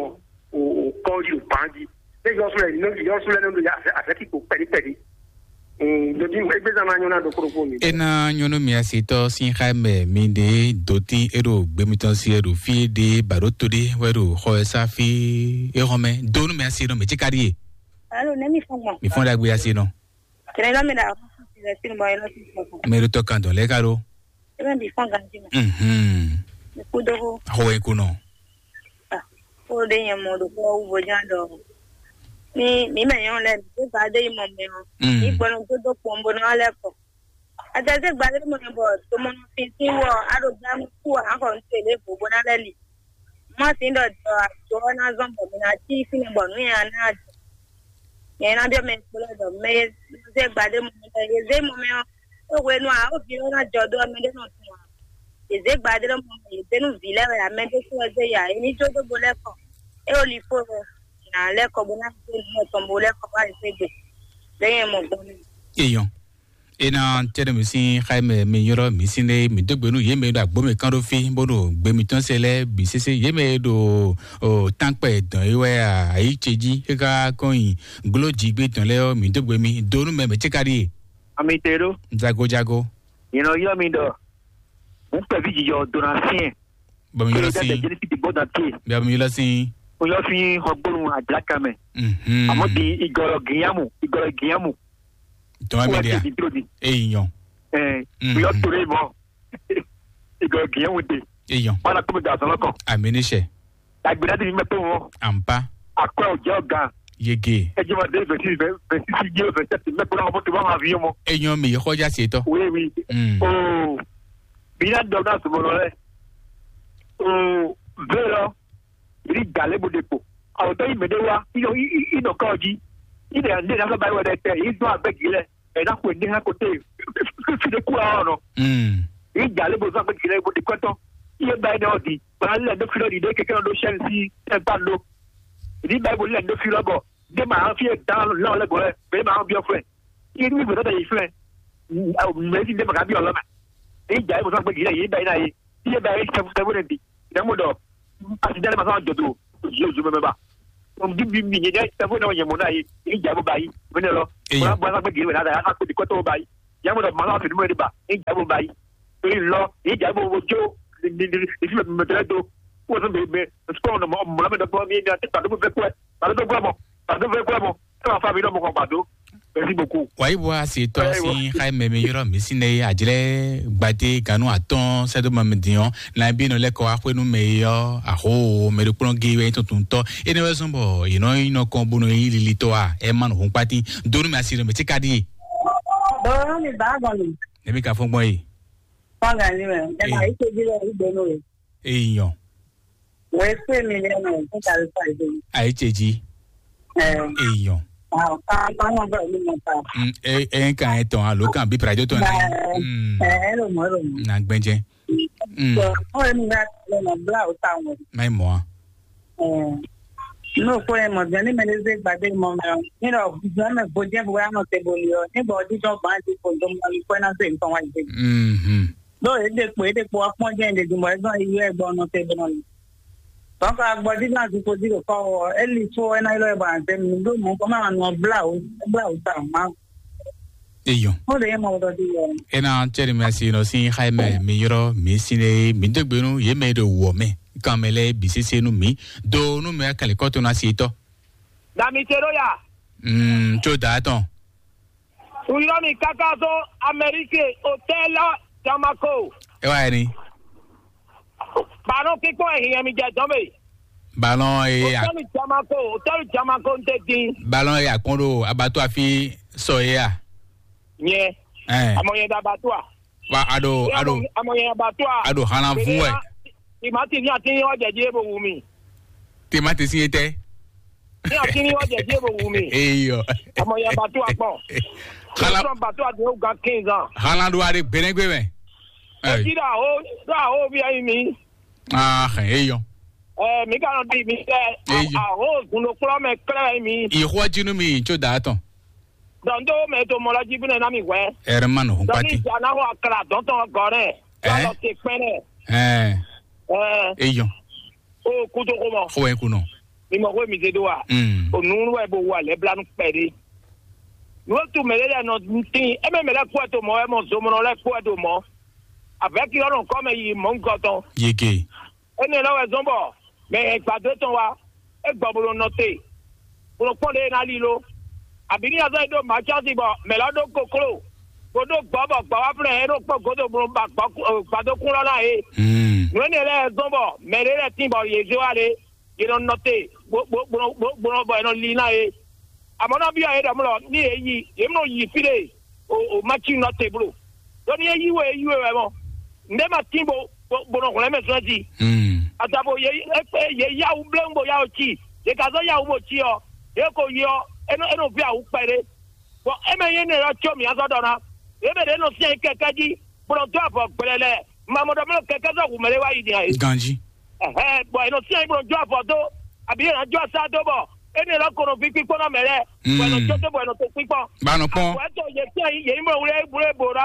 o o kɔ yi o ban jí. Ne yɔ sɔlɛ ní yɔ sɔlɛ ní ya afɛ afɛ kí kò pɛɖi pɛɖi. Ɖo ní egbe zan ma nyɔ na ɖo kóɖó kó mi. E na nyɔnu mi asi tɔ sin xa mɛ mi ɖe doti e ɖo gbemi tɔn si e ɖo fi ɖe baɖo to ɖe wɛ ɖo xɔ e sa fi e xɔ mɛ do nu mi asi nɔ mɛ tsi ka ɖi ye. Alo, ne mi fɔn gbɔn. Mi fɔn ɖagbe asi nɔ. Kɛnɛ lɔ mi ɖa. Mɛ ɖo tɔ kan dɔn lɛ ka ɖo. Ebe mi fɔn ganji ma. Mhm. Mi ku dogo. Xɔ wɛ ko nɔ. Ko ɖe nyɛ mɔ ɖo kɔ wu bo jan dɔ. Mi mi mɛ nyɔ lɛ mi ba de yi mɔ mɛ o. Mi gbɔnɔ do do kpɔn bo nɔ lɛ kɔ. Ata se gba de mɔ bɔ to mɔ fi ti wɔ a ɖo gba ku a xɔ n tele bo bo na lɛ li. Má sí ɖɔ jɔ àjọ ɔ́ ná zɔ́n bɔ mi ná cí fínɛ́ bɔ nǔ nyaná jɔ. Nyɛ ná biɔ mɛ kplɔ́ ɖɔ mɛ e zé gbadé mɔ mɛ e zé mɔ mɛ ɔ́, é hwenu ǎ, ó vǐ ɔ́ ná jɔ dó ɔ́, mɛ ɖé nɔ tunwun ǎ. È zé gbadé ɖɔ mɔ mɛ, è zé nú vǐ lɛ́ɛ wɛ ǎ, mɛ ɖé kú wɛ zé ya, è ní jó dó bo lɛ́ kɔ. É ó li fó wɛ, nǎ lɛ́ kɔ bó ná zé nǔ mɔtɔn bó lɛ́ kɔ bá lě fé gbe. Lě nyɛ mɔ gbɔn mɛ. Èèyàn. Ena tɛnɛ mi sín xayi mɛ mi nyrɔ mi sín lé mi dó gbe nú yě mɛ ɖo agbó mɛ kán ɖó fí bó ɖo gbe mitɔn se lɛ́ɛ bǐ sésé yě mɛ ɖo tánkpɛ dɔn é wɛ ayǐ ce jí é ká kɔn nyi gló jí gbé tɔn lɛ́ɛ ɔ́ mi dó gbe mi dó nú mɛ mɛ cé ka ɖíe. Ami te ɖó. Jago jago. Yìnbọn yɔ mi ɖɔ. N kpɛví jijɔ dona fíɛn. Bɔ mi yɔlɔ sí. Jeli fi ti bɔ dan tie. Bia mi yɔlɔ sí. O yɔ fi hɔgbɔnu adilaka mɛ. Mhm. Àmọ́ di igɔlɔ gíyàmù igɔlɔ gíyàmù. Tɔn mi dia. Di dúró di. Eyi yɔn. Ɛ Mhm. O yɔ tóri mɔ. Igɔlɔ gíyàmù de. Eyi yɔn. Wala kó mi da sɔlɔ kɔ. Ami ni sɛ. Agbèrè di mi mɛ tó wọn. Ampa. Akɔ ò jẹ́ ọ̀gá. Yege. Ẹ jẹ́ ma dé vingt-six, vingt-six, vingt-sept, mɛ kó náà wọ́n tó bá ma fi yín mọ́. Eyi yɔn mi yẹ kọjá sí tɔ. Oui, oui. Mm. Oh. Bi na dɔ na sɔmɔ lɔ lɛ. O ve lɔ, yi da lɛ bo de kpo. Awɔ tɔ yi mɛ de wa, i yɔ i i i nɔ kɔ ji. I de ne na fɛ ba yi wɛ dɛ tɛ, i dɔn abɛ gi lɛ. Ɛ na ko ne ha ko te. Fi de ku awɔ nɔ. Mm. I da lɛ bo zɔn abɛ gi lɛ bo de kɔtɔ. I ye ba yi ne ɔ di. Ba lɛ do fi lɔ di de keke nɔ do sɛn si ɛ ba do. Ni ba yi bo lɛ do fi lɔ bɔ. Ɖé ma fi e dan lɔ lɛ gɔlɛ, be ma biɔ flɛ. Iye ni gbɛdɔ da yi flɛ. Mɛ si ɖé ma ka biɔ lɔ mɛ. Ni dza yi mo sɔ gbe gilɛ yi ba yi na yi. Iye ba yi sɛfu sɛfu ne bi. Ne mo dɔ. Asi dale ma sɔ jɔ to. Yo yo mɛ ba. Mo bi bi mi nyɛ sɛfu ne nyɛ mo na yi. Ni dza yi mo ba yi. Mɛ ne lɔ. Mo na bɔ sa gbe gilɛ na da ya sa ko di kɔtɔ ba yi. Ya mo dɔ ma sɔ fi mo de ba. Ni dza yi mo ba yi. Torí lɔ, yìí jà gbogbo jó, ní ní ní ní sílẹ̀ mímọ́ tẹ́lẹ̀ tó. Wọ́n sọ bẹ́ẹ̀ bẹ́ẹ̀, sukọ̀ ọ̀nà mọ́ mọ́ lọ́mọdé fún mi ní àti pàdé fẹ́ kúrẹ́, pàdé fẹ́ kúrẹ́ mọ́, pàdé fẹ́ kúrẹ́ mọ́. Ẹ máa fa mi náà mọ́ kàn pàdó. Merci beaucoup. Wàyí bó a sì tọ́ sí xáìmẹ̀ mi yọrọ mi sí ní àjẹlẹ̀ gbadé ganu àtọ́n sẹ́dọ̀mọ́ mi dìyàn náà bí inú lẹ́kọ̀ọ́ axwénú mẹ́ yọ àhó mẹ́rẹ́kplọ́n gé wẹ́ tuntun tọ́. Ẹni wẹ́ sọ́n bọ̀ ìná iná kan bónú yín lili tọ́ a ẹ má nù hún pátí. Dónú mi àsìrò mi tí ka dí. Bọ̀rọ̀ mi bá gọ̀ mi. Ẹ̀mí ka fún gbọ́n yìí. Fọ́nrán ni rẹ̀, ẹ máa yí tóbi lọ ìgbónú rẹ̀. Èèyàn. Wọ́n ẹ pé mi lẹ́nu ẹ̀ fún tàbí pàdé. Àyíṣèjì. Ẹ. Èèyàn. Àwọn kan kan náà bẹ̀rẹ̀ ní mọ̀ta. Mm, ẹ ẹ ń kàn ẹ tàn án ló kàn bí pàdé tó náà. Ẹ ẹ ló mọ̀ ẹ ló mọ̀. Nà gbẹ́jẹ́. Mm. Sọ fún ẹni náà lọ́nà bíláwù táwọn. Má ì mọ̀ á. N'o ko ye mɔ jɛn ni mɛ ɖe zé gbadé mɔ mɛ ɔ, ni ɖɔ jɔn mɛ gbojɛ bo ya nɔ te bo li ɔ, ni bɔ ɔdijɔ ban ti ko dɔn mɔ li ko ɛna se ntɔn wa yi. Mhm. Ɖo e ɖe kpo e ɖe kpo wa kpɔn jɛn ɖe dun bɔ e zɔn yi yɔ e gbɔ nɔ te bo nɔ li. Tɔn ka gbɔ di na du ko di ɖo kɔ wɔ, e li fo ɛna ylɔ e bɔ an zɛ mi ɖo mɔ kɔ ma nɔ bla o, bla o ta ma. Eyɔn. Mo ɖe ye mɔ ɖɔ di yɔ. Ena cɛri mi asi nɔ si xayi mɛ mi yɔrɔ mi sine mi degbe nu ye mɛ ɖo wɔ mɛ kan mɛ lɛ bi sese nu mi do nu mɛ kali kɔto na si tɔ. Dami Teroya. Mm, tso da tɔn. Uyɔmi kaka so Amérique hôtel Jamako. E wa ni. Ballon kikpɔn e hiɛ mi jɛ dɔn be. Ballon e a. Hôtel Jamako, hôtel Jamako n te din. Ballon e a kpɔn ɖo abattoir fi sɔ ye a. Nyɛ. Ɛn. Amɔ yɛ da abattoir. Wa a ɖo a ɖo Amɔ yɛ abattoir. A ɖo hana vun wɛ. Timati ní àti yín wá jẹ̀dí ebo wù mí. Timati sí yé tẹ́. Ní àti yín wá jẹ̀dí ebo wù mí. Eyɔ. Amɔ yɛ abattoir kpɔn. Hana. Sɔrɔ abattoir àti yóò gan quinze ans. Hana ɖo a ɖe gbɛnɛgbɛ mɛ. Ɛ. Etí ɖo àhó ɖo àhó bí ayé mi. Ah, eyɔ. Ɛ mi ka nɔ di mi tɛ. Eyɔ. Àhó zun ɖo kplɔ́ mɛ klɛ́ mi. Ìxɔ jínú mi tso dà tɔn. Dɔn tó mɛ tó mɔ lɔ jí fúnɛ ná mi hwɛ. Ɛrɛ ma nɔ hún Dɔn ní pati. Ìjà náà wà kàrà dɔn tɔn gɔrɛ. Ɛ? Lọ ti pɛnɛ. Ɛ. Ɛ. Eyɔ. O kutu ko mɔ. Xɔ ɛ kunɔ. Mi mɔ ko mi se do wa. Mm. O nunu wɛ bo wa lɛ blanu pɛ de. Nuwo tu mɛ lɛ nɔ tin. E mɛ mɛ lɛ kpɔ to mɔ, e mɔ zomɔnɔ lɛ kpɔ to mɔ. Avɛki lɔ nɔ kɔ mɛ yi mɔ nkɔ tɔn. Yeke. Énɛ́ lɛ́ wɛ zɔ́n bɔ mɛ e gbadó tɔn wá, é gbɔ bó nɔ nɔ te, bó nɔ kpɔ́n ɖě e ná lí ló. Abǐ ní azɔ́ e ɖó mǎcási bɔ mɛ̌ lɔ́ ɖó kokló, bó ɖó gbɔ̌ bɔ gbɔ̌ wá flɛ́ é ɖó kpɔ́ gǒdo bó nɔ ba gbɔ̌- gbadókún lɔ ná é. Hmm. Nǔ énɛ́ lɛ́ɛ zɔ́n bɔ mɛ ɖé lɛ́ɛ tín bɔ yě zé wá lé, yě nɔ nɔ te, bó bó bó nɔ bó bó nɔ bɔ è nɔ lí ná é. Amɔ̌ ná byɔ́ yě ɖɔ mlɔ ní yě yi, yě mlɔ yi fí ɖé o o Maci nɔ te blo. Ɖó ní é yí we é yí we wɛ mɔ. Nǔɖé ma tín bo bo bo nɔ hwlɛ́n mɛ zɔn jí. Hmm. Adabo yě yě yáwú bléwún bo yáwó cí. Yě ka zɔ́ yáwú bo cí ɔ́, yě ko yi ɔ́, é nɔ é nɔ ví awǔ kpɛɖé. Bɔn é mɛ nyí énɛ́ ɔ́ có mǐ azɔ́ ɖɔ ná. Yě mɛ ɖě nɔ syɛ́n kɛkɛ́ jí, bó nɔ dó avɔ gblɛlɛ. Mamɔ ɖɔ mɛ kɛkɛ́ zɔ́ hu mɛ ɖé wá yi din ǎ é. Ganjí. Ɛhɛn, bɔn è nɔ syɛ́n bó nɔ jó avɔ dó, abǐ è nɔ jó asá dó bɔ énɛ́ lɔ ko nɔ ví kpíkpɔ́ nɔ mɛ lɛ́ɛ, bɔ è nɔ jó tó bɔ è nɔ to kpíkpɔ́n. Ba nɔ kpɔn. Àpò ɛ tó yě syɛ́n yě nyí mɔ wlé wlé bò ná.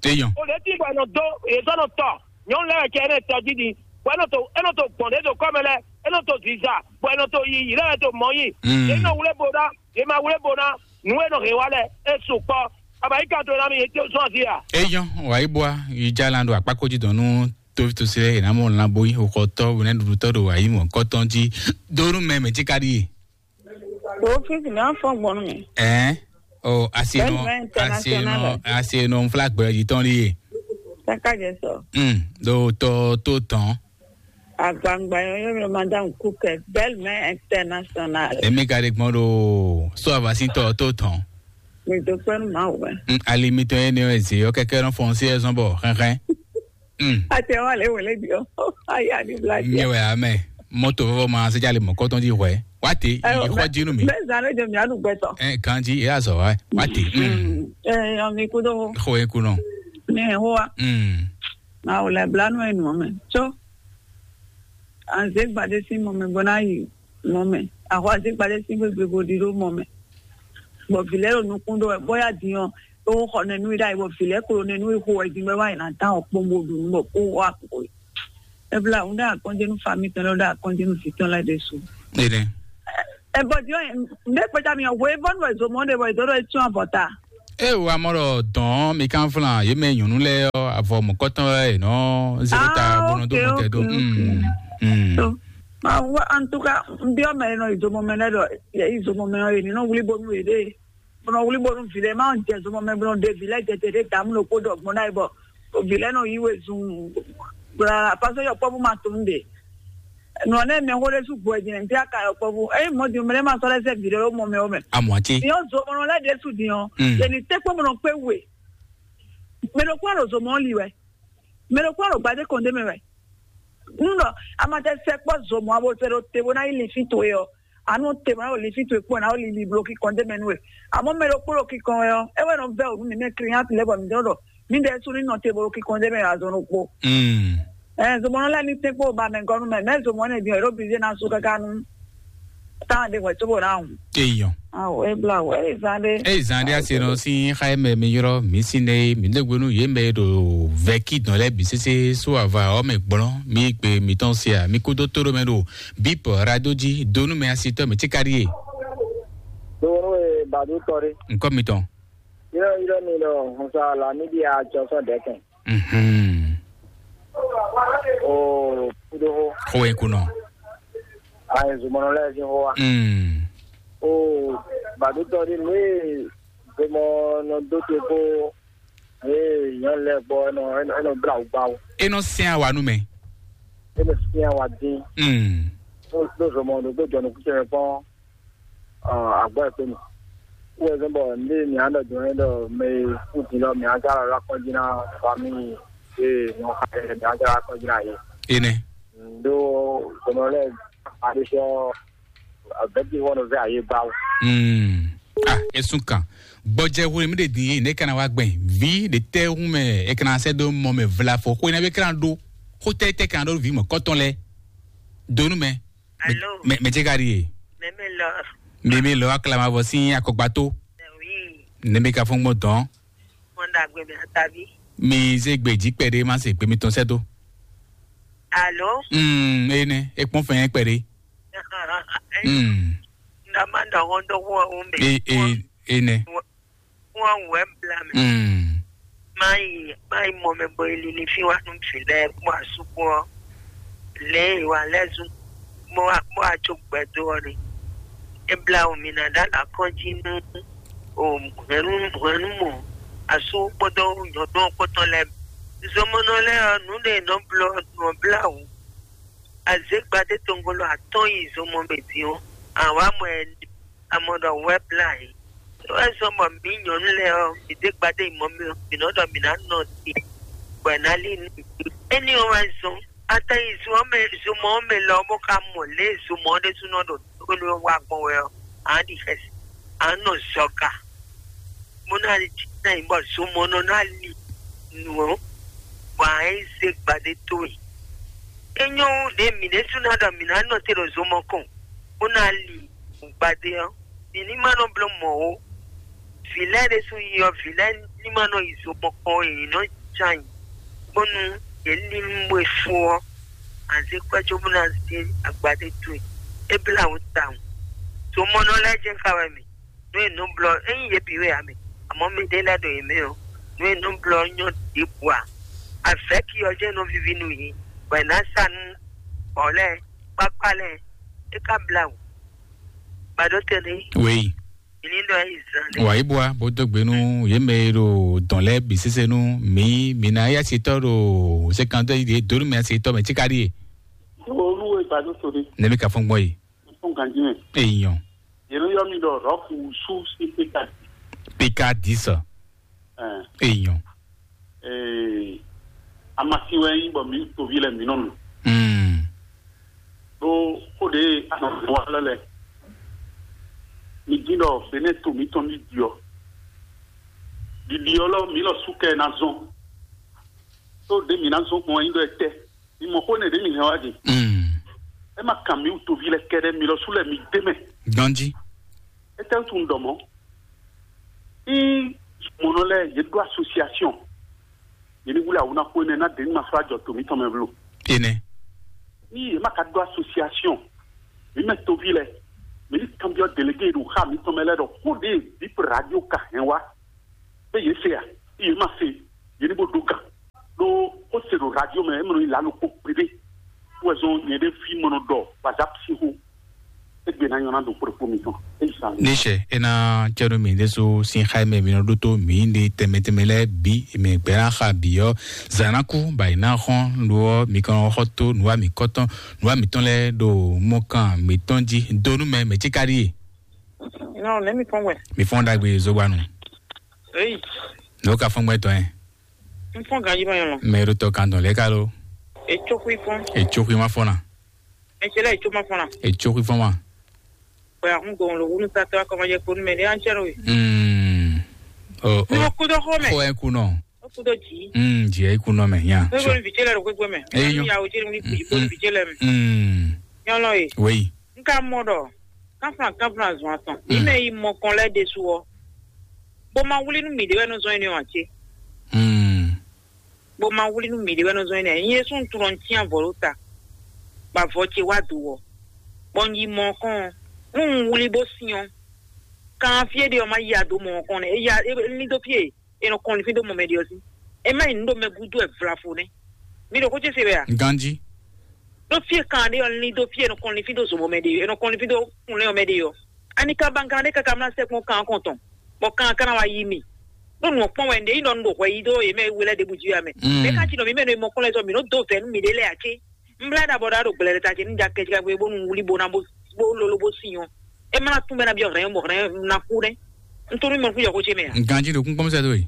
Eyɔn. O lě tí bɔ è nɔ dó, yě sɔ́ nɔ tɔ, nyɔ̌nu lɛ́ɛ cɛ énɛ́ tɔ jí din, bɔ é nɔ to é nɔ to gbɔn ɖě do kɔ́ mɛ lɛ́ɛ, é nɔ to ziza, bɔ è nɔ to yiyi lɛ́ɛ to mɔ̌ yi. Mm. Yě nɔ wlé bò ná, yě ma wlé bò ná, nǔ e nɔ hɛn wá lɛ́ɛ, é su kpɔ́. Abayíká to ná mi yě tó zɔ́n azí a? Eyɔn, wàyí bua, yi jalan ɖo akpákó jí dɔn nú tófítɔ́sí lɛ́ɛ, yě ná mɔ lanbo yi xɔxɔtɔ́, wɛnɛɖuɖutɔ́ ɖo ayǐ mɔ̌kɔtɔn jí. Dónú mɛ mɛ jí ka ɖíe. Tófítɔ́sí mi á fɔ gbɔn nú mi. Ɛɛ, o, asienɔ, Bɛnɛ international. Asienɔ, asienɔ nfla gbɛ jí tɔn ɖíe. Kaka jɛ sɔ. Hmm, ɖo tɔ tó tɔn. Agbangba yɔ yɔ madame Kukɛ, belle mère internationale. Èmi ka ɖe gbɔn ɖo sɔ avasitɔ tó tɔn. Mi do pé ma wɛ. Hmm, alimitɔ yɛ ni ɔ́ eze ɔ́ kɛkɛ nɔ fɔn sí ɛzɔn bɔ xɛxɛ. Hmm. Ate wa le wele bi o. Aya ni blague. Nye wɛ amɛ. Moto fɔfɔ ma se jale mɔ kɔtɔn ji hwɛ. Wate, yi xɔ jinu mi. Bɛ zan le jɔ mi anu gbɛtɔ. Eh, kanji, e azɔ wa. Wate. Hmm. Eh, ami kudo. Xɔ e kunɔ. Ne ho wa. Hmm. Ma o le blanu e nu me. So. An ze gbade si mo me bona yi mo me. Axɔ azígbadé sín gbégbé bo ɖi ɖó mɔ mɛ. Bɔ vǐ lɛ́ɛ ɖo nukún ɖó wɛ, bɔ yá din ɔ́, é xɔ nɛnú i ɖ'ayǐ, bɔ vǐ lɛ́ɛ klo nɛnú i xo wɛ din bɔ é wá yi ná dán ɔkpɔ́n bó ɖu nǔ bɔ kó wá kpo. Ebla, un ɖe akɔnjenu fami tɔn lɛ, un ɖe akɔnjenu vǐ tɔn lɛ ɖésú. Ene. Ɛ bɔ din ɔ́, nde kpeta mi ɔ́, hwe vɔnu wɛ zomɔ ɖe bɔ e dɔ ɖɔ e tún avɔ ta. E wa mɔ ɖɔ dɔn mi kan flan ye mɛ nyɔnu lɛ ɔ avɔ mɔkɔtɔn wɛ nɔ zero ta Ah, bɔnɔ do ok, mɔtɛ ok, do. Ok. Mm, mm. So, ma wa, en tout cas, n biɔ mɛ nɔ izomɔ mɛ lɛ ɖɔ ye izomɔ mɛ ɔ ye ni nɔ wuli bonu ye ɖe. Bɔnɔ wuli bonu vi lɛ ma jɛ zomɔ mɛ bɔnɔ de vi lɛ jɛ te ɖe damu ɖo kpo ɖɔ gbɔn na ye bɔ vi lɛ nɔ yi we zun. Bla, parce que yɔ kpɔbu ma tun de. Nɔ ne mɛ xo ɖe su gbɔ din nti aka yɔ kpɔbu. Eyi mɔ din mɛ ma sɔ lɛ sɛ vi lɛ o mɔ mɛ o mɛ. Amɔ ati. Yɔ zomɔ lɛ de su din ɔ. Mm. Ye ni te kpɔ bɔnɔ kpe we. Mɛ ɖo kpɔ ɖo zomɔ li wɛ. Mɛ ɖo kpɔ ɖo gbadé kɔn de mɛ wɛ. Nú ɖɔ a ma tɛ sɛ kpɔ zomɔ abo sɛ ɖo te bó ná yi linfín towe ɔ́, a nɔ te bó ná ɖo linfín towe kpɔ́n ná ɖo lili blo kíkɔn d'é mɛ nú we. Amɔ̌ mɛ ɖokpó ɖo kíkɔn wɛ ɔ́, é wɛ nɔ vɛ́ wǔ nú mǐ mɛ klínyátu lɛ́ɛ bɔ mǐ ɖɔ ɖɔ mǐ ɖɛɛ sú ní nɔ te bó ɖo kíkɔn d'é mɛ wɛ azɔn ɖokpó. Mm. Ɛɛ, zomɔnɔ lɛ́ɛ ní tɛ́nkpɔ́n ba mɛ gɔ́ nú mɛ, mɛ zomɔ énɛ́ din ɔ́, é ɖo bízé ná sú káká nú táwọn ɖé hwɛ̌ cóbó ná hun. Eyɔn. Awo, é bla wɛ, é zán ɖé. Eyi zan ɖe asi nɔ si xa mɛ mi yrɔ mi si ne mi de gbenu ye mɛ ɖo vɛki dɔn lɛ bi sese so ava ɔ mɛ gblɔn mi gbe mi tɔn sia mi kudo to ɖo mɛ ɖo bip radio dzi donu mɛ asi tɔ mi ti kari ye. Donu e badu tɔ ɖe. Nkɔ mi tɔn. Yɔrɔ yɔrɔ mi ɖɔ nsa la mi di a jɔ sɔ dɛkɛn. Mhm. O kudo ho. Ko e kunɔ. Ayi zumɔnɔ lɛ si ho wa. Mm. O badu tɔ ɖe nue. Gbɔmɔ nɔ dó te kpó ee nyɔ̌nu lɛ́ɛ gbɔ, é nɔ é nɔ é nɔ blá wǔ gbá wú. E nɔ sɛn awa nú mɛ. É nɔ syɛ́n awa dín. Mm. Ɖó ɖó zɔmɔ ɖokpó jɔ nukúnṣe mɛ kpɔ́n agbɔ́ ɛ kpé mɛ. Wú wɛ zɔ́n bɔ ndé mǐ á ɖɔ jɔ̌n é ɖɔ mɛ e kú din lɔ mǐ á zá lɔ lɔ akɔ́njí ná famíyi e nɔ xa ɛ mǐ á zá lɔ akɔ́njí ná yě. Enɛ. Ɖó zɔmɔ lɛ́ɛ aɖé sɔ́ abɛ̌ti wɔ́ nɔ vɛ ayé ba wú. Mm. Ah, esun kan. Gbɔjɛ hwle mi de din ye ne kana wa gbɛn. Vi de tɛ hu mɛ e kana sɛ do mɔ mɛ vla fɔ ko na be kana do. Ko tɛ tɛ kana do vi mɔ kɔtɔn lɛ. Donu mɛ. Alo. Mɛ mɛ je ka di ye. Mɛmɛ lɔ. Mɛmɛ lɔ akla ma vɔ si akɔgba to. Oui. Ne mi ka fɔn gbɔ dɔn. Mɔdagbe mi atabi. Mi ze gbe ji kpɛɖe ma se gbe mi tɔn sɛ do. Alo. Mm, ene, e kpɔn fɛn kpɛɖe. Mm. Ndama dɔ wɔn dɔ wɔn o mɛ. E e ene. Wɔn wɔn wɛ bla mɛ. Mm. Mayi mayi mɔ mɛ bɔ eli ni fi wa nu fi lɛ kpɔ asukpɔ lɛ wa lɛ zu mɔ wa kpɔ atso gbɛdo ɔ ni. Ebla o mi na da la kɔn ji nu o hɛnu hɛnu mɔ asu kpɔdɔ nyɔdɔ kpɔtɔ lɛ zɔmɔnɔ lɛ ɔ nu de nɔ blɔ nɔ bla o. Azégbadé tongolo atɔ́ɔ́n yi zomɔ mɛ din ɔ́, àwa mɔ ɛ ní, a mɔ ɖɔ wɛ́ blá yě. É wɛ zɔ́n bɔ mǐ nyɔ̌nu lɛ́ɛ ɔ́, mǐ dé gbadé yi mɔ mì ɔ́, mǐ nɔ ɖɔ mǐ ná nɔ te, bɔ è nǎ lí nú mǐ. Éní ɔ́ wɛ zɔ́n, a ka yi zo ɔ́ mɛ, zomɔ ɔ́ mɛ lɔ ɔ́, bó ka mɔ lě e zomɔ ɔ́ ɖésúnɔ ɖo tónú ɔ́ wa gbɔn wɛ ɔ́, a nǎ ɖi xɛsi, a nǎ nɔ zɔga, bó ná lí jí ná nyí bɔ zomɔnɔ ná li nǔ ɔ́, bɔ a nǎ yi zé gbadé towe. É nyɔ́ wu ɖě mǐ ɖésú ná ɖɔ mǐ ná nɔ te ɖo zomɔ kɔn, bó ná li gbadé ɔ́, mǐ ní ma nɔ bló mɔ̌ ó. Vǐ lɛ́ɛ ɖésú yi ɔ́, vǐ lɛ́ɛ ní ma nɔ yi zomɔ kɔn ó, yě ní nɔ ján ayǐ, bónú yě ní mɔ e fó ɔ́, a zé kwɛ́ cóbó ná zé agbadé towe. É blá wǔ tawun. Zomɔnɔ lɛ́ɛ jɛ́n ka wɛ mì, nǔ e nǔ blɔ ényí yě bǐ wɛ ǎ mɛ, amɔ̌ mɛɖé lɛ́ɛ ɖo yě mɛ ɔ́, nǔ e nǔ blɔ ɔ́ nyɔ́ ɖěbǔ ǎ. Avɛ̌ki ɔ́ jɛ́n nɔ víví nú yě, bɔ è nǎ sa nú bɔ̌ lɛ́ɛ, kpákpá lɛ́ɛ, é ka blá wǔ. Gbadó tɛnɛ, Wei. Ìní ɖɔ yí zan ɖé. Wà yí bua bó dó gbe nú yě mɛ e ɖo dɔn lɛ́ɛ bǐ sésé nú mǐ, mǐ ná yá sitɔ́ ɖo sékantɔ́ yi ɖě dó nú mɛ sitɔ́ mɛ tíká ɖíe. Olúwe gbadó to ɖé. Nɛbí ka fɔ́n gbɔn yi. Fún gandimɛ. Èèyàn. Yẹnu yọ mi ɖɔ rɔku su sí pékadì. Pékadì sọ. Èèyàn. Ee, amasi wɛ nyí bɔ mí toví lɛ mǐ nɔ nɔ. Mm. Ɖó xó ɖě anɔ wa lɛ lɛ. Mi dín ɖɔ Benɛ to mǐtɔn ní ɖiɔ. Ɖiɖi ɔ́ lɔ mǐ lɔ sú kɛ ná zɔn. Tó ɖě mǐ ná zɔn gbɔn wɛ nyí ɖɔ etɛ. Mi mɔ xó nɛ ɖě mi hɛn wá ɖe. Mm. É ma kan mǐ wutoví lɛ́ɛ kɛ́ɖɛ́, mi lɔ sú lɛ́ɛ mi d'é mɛ. Ganjí. Étɛ́ wútu un ɖɔ mɔ̌? Ih, mɔnɔ lɛ́ɛ yě ɖó asosiasiɔn, yě ní wlí awǔ ná xó énɛ́ ná ɖě ní ma sɔ́ ajɔ to mǐtɔn mɛ vlo. Énɛ́. Ní yě ma ka ɖó asosiasiɔn, mǐ mɛ toví lɛ́ɛ, mǐ ní kanbyɔ́ delégé e ɖo xá mǐtɔn mɛ lɛ́ɛ ɖɔ xó ɖě Bip Radio ka hɛn wá, bɛ yě se a? Yě ma se, yě ní bó ɖó gǎn. Ɖó xó se ɖo radio mɛ, é mɔ nɔ nyí lǎlo kpó gbeɖé. Wɛ zɔn nyɛ ɖe fí mɔ nɔ ɖɔ WhatsApp sín xó. Égbé ná nyɔ́ ná ɖo kpó ɖokpó mitɔn. É yi sa. Níṣẹ́ é ná jẹ́ nú mǐ ɖésú sín xá e mɛ mi nɔ ɖótó mǐ ɖe tɛnmɛ tɛnmɛ lɛ́ɛ bǐ, mǐ gbɛ́ ná xa bǐ ɔ́, zǎn ná kú, bɔ ayǐ ná xɔ́n, lo ɔ́, mi kɔn nɔ xɔ tó nǔwa mǐkɔtɔn, nǔwa mǐtɔn lɛ́ɛ ɖo mɔkan mǐtɔn jí. Dó nú mɛ, mɛ̌ cí ka ɖíe? Non, let me come where? Mi fɔ́n ɖagbe zogba nu. Hey, Nǔ ka fɔ́n gbɛtɔ́ ɛ? N fɔ́n ganji ma yɔn lɔ. Mɛ ɖo tɔ kan dɔn lɛ́ ka lo. Etsó xwí fɔ́n. Etsó xwí ma fɔ́n na. Etsó lɛ etsó ma fɔ́n na. Etsó xwí fɔ́n ma. Bɔn ahun gbɔn lo wunu satɔ akɔmɔjɛ kponu mɛ ne an cɛ no we. Mm. Oh, Ní oh. Mo kú dó xó mɛ. Xó ɛ kú nɔ. Ó kú dó jì. Mm, jì ɛ kú nɔ mɛ nya. Pé bóni vìjé lɛ ɖo gbégbé mɛ. Eyín. Ní yàwó jẹ́ ní kú bóni vìjé lɛ mɛ. Mm. Nyɔlɔ ye. Wéyi. N ka mɔ ɖɔ kánflán kánflán zɔn atɔn. Mí mɛ yi mɔ kɔn lɛ́ɛ ɖésú ɔ́, bó ma wlí nú mǐɖé wɛ nɔ zɔn énɛ́ ɔ́ ǎ cé? Mm. Bó ma wlí nú mǐɖé wɛ nɔ zɔn énɛ́ ǎ. Nyɛ sún tunɔ cyán vɔ̌ ɖó ta, bɔ avɔ ce wá do ɔ́, bɔ un yi mɔ ɔ́ kɔn ɔ́, nú un wlí bó syɔ́n, kan fí e ɖe ɔ́ ma ya dó mɔ ɔ́ kɔn nɛ́. É ya é lín dó fí e è nɔ kɔn linfín dó mɔ mɛ ɖe ɔ́ sí. É má nyí nǔ ɖo mɛ gúdo wɛ vlafo nɛ́. Mi ɖo xó ce se wɛ a? Ganjí. Ɖó fí e kan ɖe ɔ́ lín dó fí e è nɔ kɔn linfín dó zomɔ mɛ ɖe, è nɔ kɔn linfín dó kunlɛ́n ɔ́ mɛ ɖe ɔ́. Ani ka ban kan ɖé káká mlá sɛkpɔ́n kan ɔ́ kɔn tɔn, bɔ kan ɔ́ ka ná wá yí mi. Ɖó nǔ ɔ́ kpɔ́n wɛ un ɖe nyí ɖɔ un ɖo hwɛ yí dó yě mɛ we lɛ́ɛ ɖěbǔ jí wɛ mɛ. Mm. Mɛ ka ci nɔ mǐ mɛ nɔ mɔ kɔn lɛ́ɛ sɔ́ mǐ nɔ dó vɛ̌ nú mǐɖée lɛ́ɛ ǎ cé? Un blá ɖa bɔ ɖa ɖo gblɛ̌ ɖe ta ce ní ja kɛjika gbe bónú un wlí bó ná bó bó lolo bó sin ɔ́. É má ná tún bɛ́ ná byɔ́ hɛ̌n bɔ hɛ̌n ná kú nɛ́. Un tó nú mɔ fún yɔxó ce mɛ ǎ. Ganjí ɖo kúnkpɔ́n sɛ́ dó e.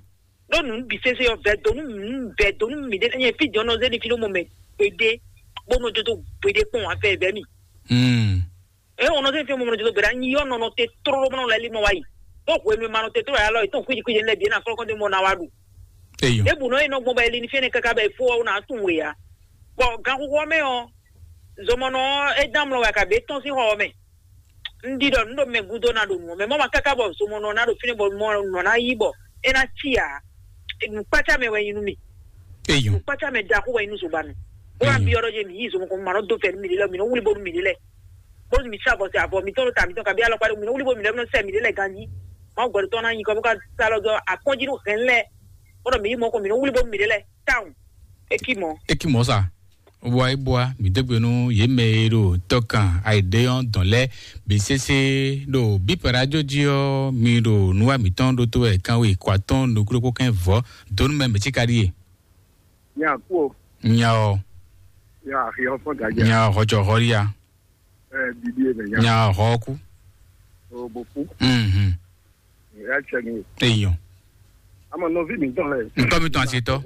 Ɖó nǔ bǐ sésé ɔ́, vɛ̌ dó nú mǐ, vɛ̌ dó nú mǐ ɖésú nyɛ fí din ɔ́ nɔ zé ɖi fí ɖó mɔ mɛ gbeɖé, bó nɔ jó dó gbeɖé kpɔ́n ǎ, vɛ̌ vɛ̌ mì. Mm. Ě ɔ́ nɔ zé fí mɔ mɛ nɔ jó dó gbeɖé, anyi ɔ́ nɔ nɔ te tlóló bó nɔ lɛ́ lí mɔ wá yi. Ɖó hwenu e ma nɔ te tlóló ǎ lɔ, è tɔ́n kwíji kwíji lɛ́ɛ bǐ é ná flɔ́ kɔn dó mɔ ná wá ɖu. Eyɔ. Ɖěbǔ nɔ é nɔ gbɔn bɔ é li ní fí énɛ́ káká bɔ è fó ɔ́ ná tunwun wě ǎ. Bɔ ganxixo ɔ́ mɛ ɔ́, zɔmɔnɔ ɔ́, é dán amlɔ wɛ a ka bě tɔ́n sín xɔ ɔ́ mɛ. Un ɖi ɖɔ nǔ ɖo mɛ gúdo ná ɖo nǔ ɔ́ mɛ. Mɔ̌ ma káká bɔ zomɔnɔ ná ɖo fínɛ́ bɔ mɔ nɔ ná yí bɔ é ná cí ǎ. Nǔkpácá mɛ wɛ nyí nú mì. Eyɔ. Nǔkpácá mɛ ɖaxó wɛ nyí nú zogbanu. Bó wá Eyɔ. Byɔ́ ɖɔ jɛ mǐ yí zomɔ kɔn ma nɔ dó fɛ́ nú mǐɖé lɛ́ɛ, mǐ nɔ wlí bónú mǐɖé lɛ́ɛ. Bónú mǐ sá vɔ sɛ avɔ mǐtɔn ɖo ta mǐtɔn kabi alɔkpa ɖo mǐ nɔ wlí bónú mǐɖé lɛ́ɛ nɔ sɛ mǐɖé lɛ́ɛ ganjí. Mawu gbɛɖotɔ́ ná nyi kɔ bó ka sá lɔ dó akpɔ́njí nú hɛn lɛ́ɛ. Bó ɖɔ mǐ yí mɔ kɔn mǐ nɔ wlí bónú mǐɖé lɛ́ɛ. Tawun. É cí mɔ̌. É cí mɔ̌ sa. Bua é bua, mǐ dó gbe nú yě mɛ e ɖo tɔkan ayǐɖé ɔ́ dɔn lɛ́ɛ bǐ sésé ɖo bípɛ́ rájó jí ɔ́, mi ɖo nǔwa mǐtɔn ɖótó wɛ kanwe kɔ atɔ́ɔ́n nukúnɖókpó kɛ́n vɔ̌ dó nú mɛ mǐ cí ka ɖíe. Nya kú o. Nya ɔ. Nya axi ɔ́ fɔ́n gǎjà. Nya hɔjɔ hɔlíya. Ɛ bibi e mɛ nya. Nya hɔ kú. O bo kú. Mhm. Ɛ cɛ ni. Eyɔn. Ama nɔvi mi tɔn lɛ. Ntɔ mi tɔn asi tɔ.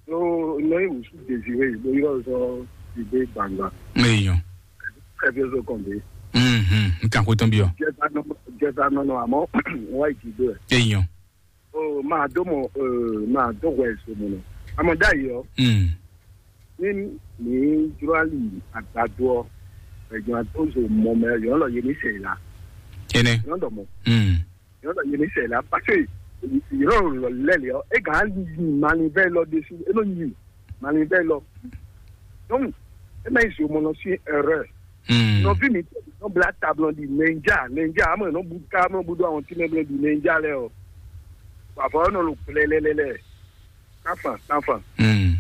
No no yi wusu dezire bo yɔ sɔ dide gbangba. Eyɔn. Kɛfɛ so kɔn de. Mhm. Nkan ko tɔn bi ɔ. Jɛta nɔ jɛta nɔ nɔ amɔ wa yi ti do ɛ. Eyɔn. O ma do mɔ, o ma do hwɛ so mɔ nɔ. Amɔ da yi ɔ. Mm. Ní mǐ jló ali àgbàdo ɔ, ẹ̀gbọ́n tó zo mɔ mɛ yɔn lɔ yé ní sè la. Ene. Yɔn dɔ mɔ. Mm. Yɔn lɔ yé ní sè la parce que yɔn lɔ lɛ lɛ ɔ, e gan ali yi mali bɛ lɔ de su, e nɔ yi mali bɛ lɔ. Donc e ma yi zo mɔ nɔ si erreur. Mm. Nɔvi mi tɔ nɔ bla tablɔ di ninja ninja amɔ nɔ bu ka nɔ bu do àwọn tí mɛ blɛ di ninja lɛ ɔ. Bàbá ɔ nɔ lo gbɛlɛlɛlɛ. Táfà táfà. Mm.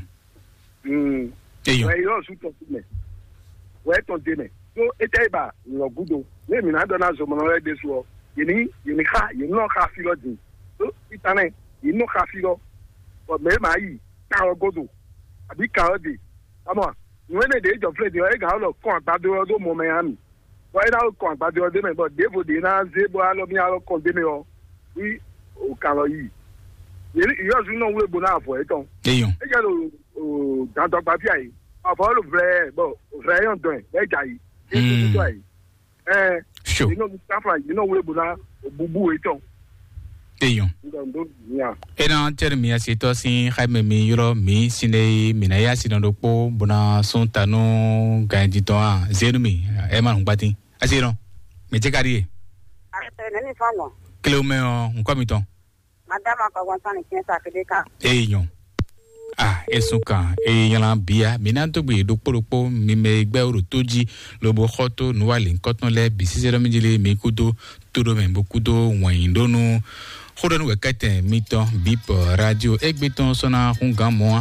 Mm. Eyɔ. Wɛ yɔ su tɔn mɛ. Wɛ tɔn de mɛ. Tó etɛ yi ba lɔ gudo. Ne mi na dɔ na zɔmɔnɔ lɛ de su ɔ. Yeni yeni xa yeni nɔ xa fi lɔ din. Tó itan nɛ yeni nɔ xa fi lɔ. Bɔ mɛ ma yi ka ɔ godo. Abi ka ɔ de. Amɔ nuwe ne de jɔ flɛ de ɔ e ga lɔ kɔn agbado ɔ do mɔ mɛ ya mi. Bɔ e na kɔn agbado ɔ de mɛ bɔ devo de na ze bɔ alɔ mi alɔ kɔn de mɛ ɔ. Wi o kan lɔ yi. Yeni yɔ su nɔ wle bo na avɔ etɔn. Eyɔn. E jɛ lo o dandɔgba fia yi. Avɔ lo vlɛ bɔ vlɛ yɔn dɔn ɛ bɛ ja yi. Yéé tó tó ayi. Ɛɛ. Sure. Yìí nɔ sanfra yìí nɔ wúlò bó ná búbú etɔn. Eyɔn. Dɔn ɖó nya. Ena tɛri mi asi tɔ sin xaime mi yɔrɔ mi sine mi na ya si nɔ ɖokpo bona sun tanu ganji tɔn a zenu mi ɛ ma nu gbati asi nɔ mi tse ka di ye. Nɛni fɔn gbɔn. Kile mɛ ɔ nkɔ mi tɔn. Madame akɔgbɔn sani tiɲɛ sa kede kan. Eyi nyɔ. Ah, esun kan eyi nyala bia mi na dogbe ɖokpo ɖokpo mi mɛ gbɛ wo ɖo to ji lobo xɔ to nuwali nkɔtɔn lɛ bi sise ɖɔ mi jeli mi kudo to ɖo mɛ bo kudo wɔnyi ɖo nu. Xó ɖɔ nu wɛ kɛtɛ mitɔn bip radio egbe tɔn sɔna hun gan mɔ